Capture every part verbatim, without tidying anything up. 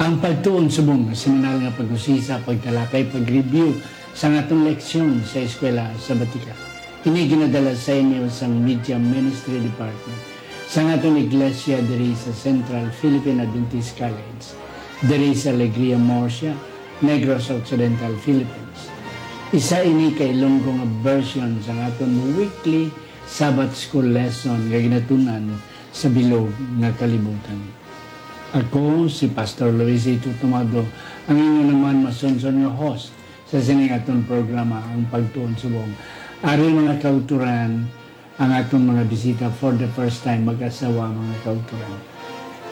Ang pagtuon subong nga seminal nga pag-usisa, pagtalakay, pag-review sa aton leksyon sa eskwela sa Batika. Ini ginadala sa inyo sang Media Ministry Department sa aton iglesia diri sa Central Philippine Adventist College, diri sa Alegria Murcia, Negros Occidental, Philippines. Isa ini ka Ilonggo nga version sa aton weekly Sabbath School lesson nga ginatun-an sa bilog nga kalibutan. Ako si Pastor Luis Ito Tomado, ang inyo naman masunson nga host sa sining aton programa, Ang Pagtuon Subong. Ari, mga kauturan, ang aton mga bisita for the first time, mag-asawa, mga kauturan.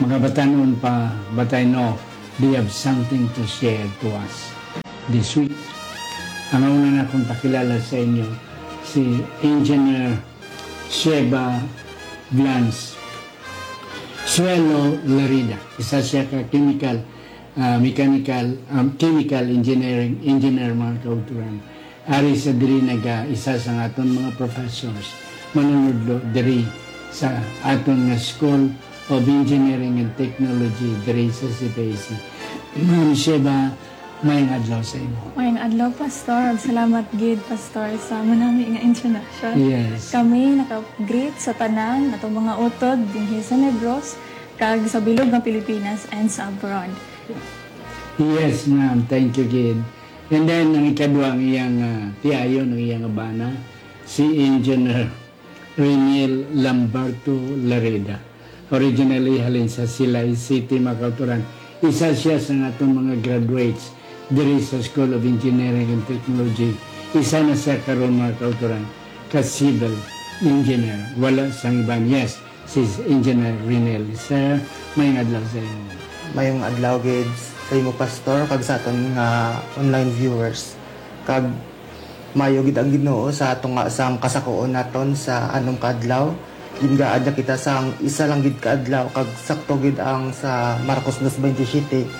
Mga batanon pa, but I know they have something to share to us this week. Ang una na akong pakilala sa inyo, si Engineer Sheba Blanz Suelo Larida. Isa siya ka chemical, ah, mechanical, um, chemical engineering, engineer, mga kauturan. Ari sa diri naga isa sa aton mga professors, manunudlo diri sa aton nga School of Engineering and Technology diri sa C P A C. Ma'am Sheba, mayong adlaw sa imo. Mayong adlaw, Pastor. Ug salamat gid, Pastor, sa manami nga introduction. Yes. Kami naka-greet sa tanan natong mga utod dinhi sa Negros, kag sa bilog nga Pilipinas and sa abroad. Yes, ma'am. Thank you gid. And then, ang ikadwa, ang iyang, ah, tiayon, ang iyang bana, si Engineer Renil Lamberto Lareda. Originally, halin sa Silay City, mga kauturan. Isa siya sa aton mga graduates diri sa School of Engineering and Technology. Isa na siya karon, mga kauturan, ka civil engineer. Wala sang iban. Yes, si Engineer Renil. Sir, mayong adlaw sa imo. Mayong adlaw gid sa imo, Pastor, kag sa aton nga online viewers. Kag maayo gid ang Ginoo sa tunga sang kasakoon naton sa anom ka adlaw. Gingaad na kita sang isa lang gid ka adlaw, kag sakto gid ang sa Marcos dos veintisiete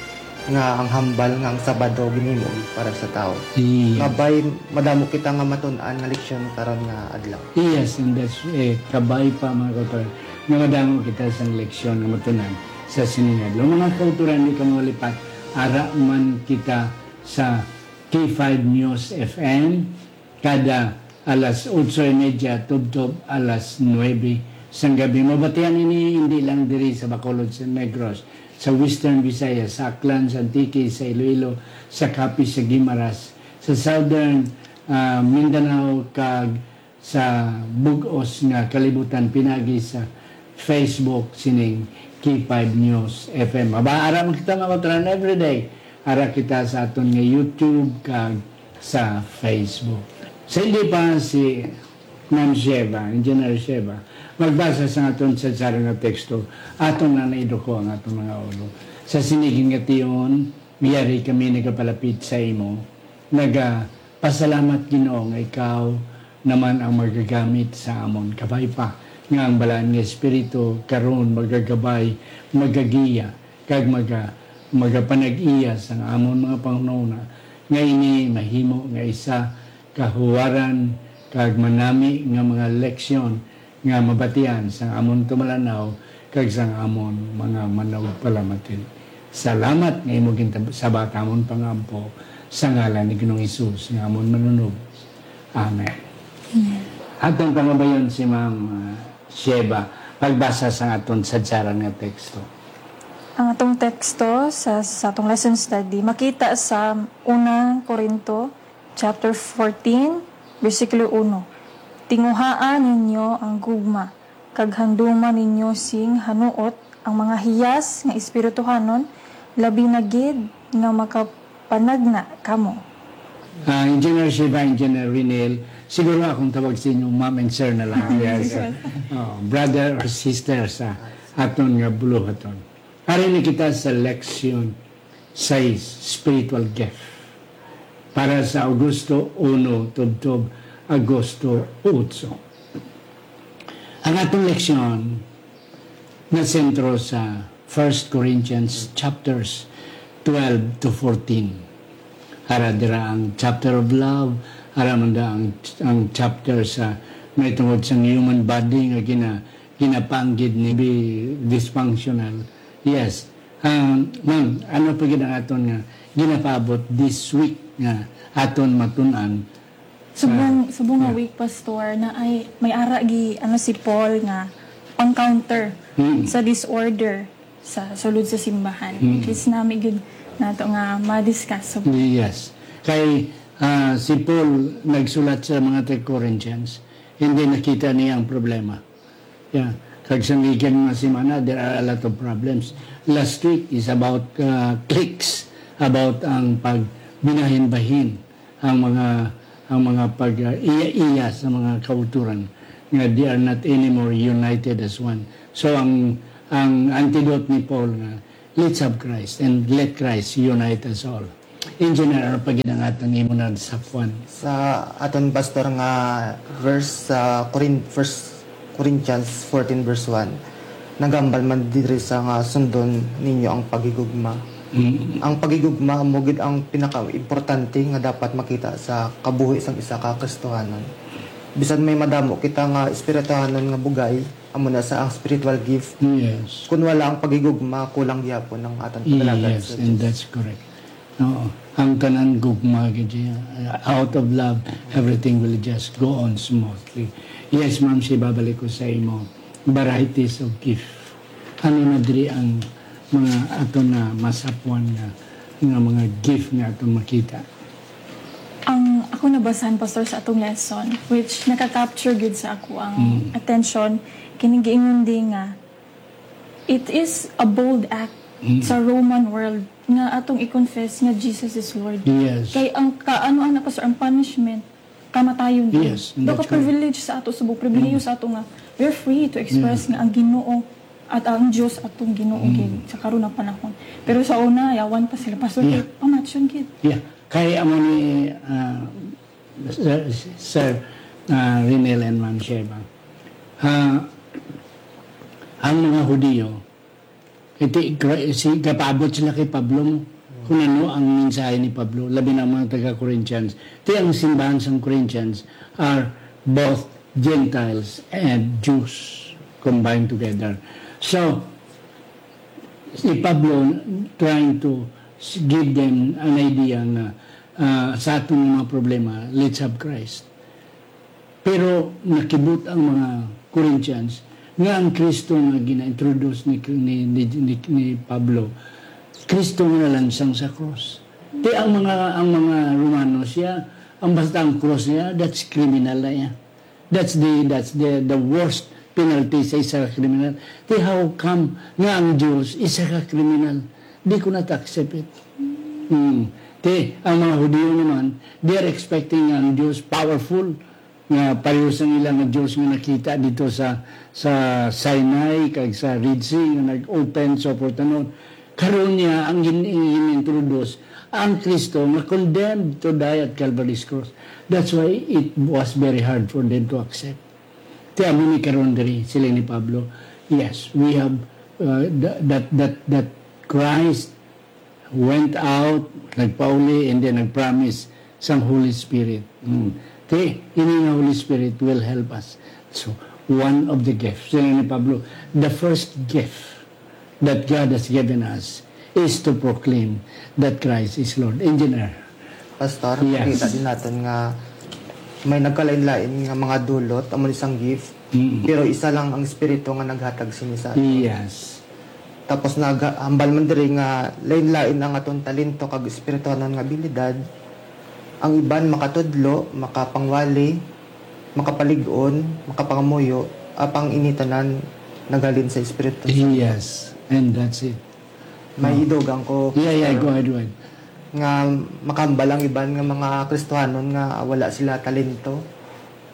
nga ang hambal nga ang Sabado ginhimo gid para sa tawo. Yes. Kabay, madamo kita nga matun-an nga leksyon karon nga adlaw. Yes, and that's, eh, kabay pa, mga kauturan, nga madamo kita sang leksyon nga matun-an sa sining adlaw. Mga kauturan, di ka mawalipat, ara man kita sa K five News F M, kada alas otso y media tubtob alas nuebe sang gabi. Mabatian ini hindi lang diri sa Bacolod, sa Negros, sa Western Visayas, sa Aklan, sa Antique, sa Iloilo, sa Capiz, sa Guimaras, sa Southern, ah, Mindanao, kag sa bug-os nga kalibutan pinagi sa Facebook sining K five News F M. Aba, ara man kita, mga kauturan, everyday. Ara kita sa aton nga YouTube kag sa Facebook. Sa hindi pa si Ma'am Sheba, Engineer Sheba, magbasa sa aton sadsaran nga teksto, aton na naiduko ang aton mga ulo. Sa sini gid nga tion, yari kami nagapalapit sa imo, nagapasalamat, Ginoo, nga ikaw naman ang magagamit sa amon. Kabay pa nga ang Balaan nga Espiritu karon magagabay, magagiya, kag maga-, magapanag-iya sang amon mga panghunahuna, nga ini mahimo nga isa kahuwaran kag manami nga mga leksyon nga mabatian sang amon tumalan-aw kag sang amon mga manugpalamati. Salamat nga imo gintab-, sabat amon pangampo sa ngalan ni Ginoong Hesus nga amon Manunubos. Amen. Amen. Atong pangabayon si Ma'am, ah, Sheba, pagbasa sa aton sadsaran nga teksto. Ang atong teksto sa, sa atong lesson study makita sa unang Corinto chapter fourteen, bersikulo uno, "Tinguhaa ninyo ang gugma, kag handuma ninyo sing hanuot ang mga hiyas nga espirituhanon, labi na gid nga makapanagna kamo." Ah, Engineer Shiva, Engineer Renel, siguro akong tawag sa inyo, ma'am and sir na lang. Yes. Oh, brother or sister sa aton nga buluhaton. Ari na kita sa leksyon sais, spiritual gift, para sa Agosto uno tubtob Agosto otso. Ang atong leksyon nasentro sa First Corinthians chapters twelve to fourteen. Ara dira ang chapter of love, ara man da ang, ang chapter sa may tungod sa human body nga gina-, ginapanggid ni bi-, dysfunctional. Yes, Ah, ma'am, ano pa gid ang aton nga ginapaabot this week nga aton matun-an? Subong, Ah, subong nga yeah. week, Pastor, na ay may ara gi, ano, si Paul nga pang-counter Mm. sa disorder sa sulod sa simbahan. Mm. Which is nami gid nato nga ma-discuss. So, Yes. Kay, ah, si Paul nagsulat sa mga taga-Corinthians, hindi nakita niya ang problema. Yeah. Kag sa gikan nga semana, there are a lot of problems. Last week is about, uh, cliques, about ang pagbinahin-bahin, ang mga, ang mga pag, uh, iya-iya sa mga kauturan nga they are not anymore united as one. So, ang, ang antidote ni Paul nga, "Let's have Christ and let Christ unite us all." Engineer, ano pa gid ang aton imo na sa kwan? Sa aton, Pastor, nga verse sa Corin-, First Corinthians fourteen verse one, naghambal man diri sa nga sundon ninyo ang paghigugma. Mm. Ang paghigugma amo gid ang pinakaimportante nga dapat makita sa kabuhi sang isa ka Kristohanon. Bisan may madamo kita nga espirituhanon nga bugay, amo na sa ang spiritual gift. Yes. Kun wala ang paghigugma, kulang gyapon ang aton paglagat Yes, sa and Dios. That's correct. Oo. Ang tanan gugma gid siya. Out of love, everything will just go on smoothly. Yes, ma'am, si babalik ko sa imo. Varieties of gift. Ano na diri ang mga ato na masapwan nga, nga mga gift nga ato makita? Ang ako nabasahan, Pastor, sa atong lesson, which naka-capture gid sa ako ang Mm. attention, kining giingon di nga, it is a bold act Mm. sa Roman world nga atong i-confess nga Jesus is Lord. Yes. Kay ang kaano ana, Pastor, ang punishment, kamatayon din. Yes, and Daw that's ka privilege sa ato, subong pribilehiyo Mm. sa ato nga we're free to express Yeah. nga ang Ginoo at ang Dios atong Ginoo Mm. gid sa karon nga panahon. Pero sa una, yawan pa sila, Pastor, Yeah. kay pamatyon gid. Yeah. Kay amo ni, ah, Sir, Sir, ah, Rinel and Ma'am Sheba. Ah, ang mga Hudiyo, iti, gra-, si, gapaabot sila kay Pablo mo. Kung ano ang mensahe ni Pablo, labi na ang mga taga-Corinthians. Ti ang simbahan sang Corinthians are both Gentiles and Jews combined together. So, si Pablo trying to s-, give them an idea nga, ah, sa aton mga problema, let's have Christ. Pero nakibot ang mga Corinthians nga ang Kristo nga gina-introduce ni, ni, ni, ni, ni Pablo, Kristo nga nalansang sa cross. Ti ang mga, ang mga Romano siya, ang basta ang cross niya, that's criminal na iya. That's the, that's the, the worst penalty sa isa ka kriminal. Ti how come nga ang Dios isa ka kriminal? Di ko na accept it. Hmm. Ti ang mga Hudiyo naman, they are expecting nga ang Dios powerful, nga pareho sang ila nga Dios nga nakita dito sa, sa Sinai kag sa Red Sea nga nag-open sa portanon. Karon niya ang gin-, gin-introduce ang Kristo nga condemned to die at Calvary's cross. That's why it was very hard for them to accept. Ti amo ni karon diri, siling ni Pablo, yes, we have, uh, th-, that, that, that Christ went out, nagpauli, and then nagpromise sang Holy Spirit. Mm. Ti, ini nga Holy Spirit will help us. So, one of the gifts. Siling ni Pablo, the first gift that God has given us is to proclaim that Christ is Lord. Engineer. Pastor, Yes. Kita din natin nga may nagkalain-lain nga mga dulot, amo ni sang gift, Mm. pero isa lang ang Espiritu nga naghatag sini sa aton. Yes. Tapos naghambal man diri nga lain-lain ang aton talento kag espirituhanon nga abilidad. Ang iban makatudlo, makapangwali, makapalig-on, makapangamuyo, apang ini tanan naghalin sa Espiritu Santo. Yes, and that's it. May Oh. idugang ko, Yeah, yeah, Pastor, go ahead, go ahead. nga makahambal ang iban nga mga Kristohanon nga wala sila talento.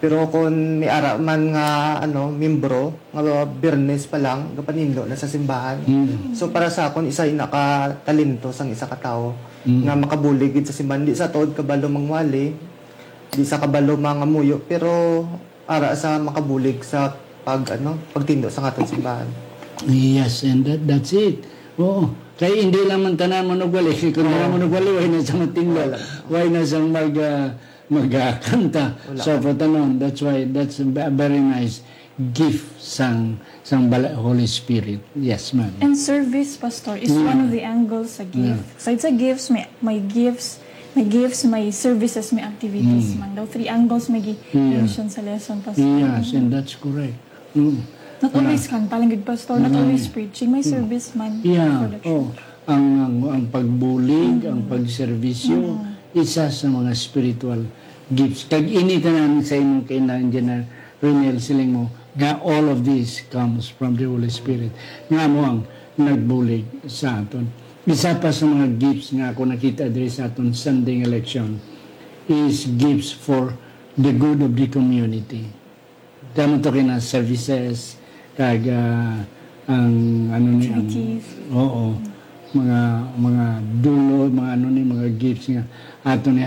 Pero kung may ara man nga, ano, membro, nga Biyernes pa lang, gapanindot na sa simbahan. Mm. So, para sa akon, isa ina ka talento sang isa ka tawo Mm. nga makabulig gid sa simbahan. Di sa tuod kabalo mangwali, di sa kabalo mangamuyo, pero ara sa makabulig sa pag, ano, pagtindog sa aton simbahan. Yes, and that, that's it. Oo. Kay hindi lang man tanan manugwali. Kung wala Oo. manugwali, way na sa magtindog. Wala. Way na sa mag, ah, magkanta Wala. sa pagtanon. That's why, that's ve-, very nice. gift sang sang bala Holy Spirit. Yes, ma'am. And service, Pastor, is Yeah. one of the angles sa gift. Yeah. Aside sa gifts, may, may gifts, may gifts, may services, may activities Mm. man. Daw three angles may Yeah. gi-mention sa lesson, Pastor. Yes, and that's correct. Mm. Not always kanta lang gid, Pastor. Not Mm. always preaching. May service man Yeah. for the Oh, church. Ang, ang, ang pagbulig, ang pagserbisyo, isa sa mga spiritual gifts. Kag ini tanan sa imong kainang General Ronel, siling mo nga all of this comes from the Holy Spirit. Nga mo ang nagbulig sa aton. Isa pa sa mga gifts nga ako nakita diri sa aton Sunday nga leksyon is gifts for the good of the community. Kamo to kina services, kag ah, ang ano ni ang, Activities. Oo, mga mga dulo, mga ano ni, mga gifts nga ato ni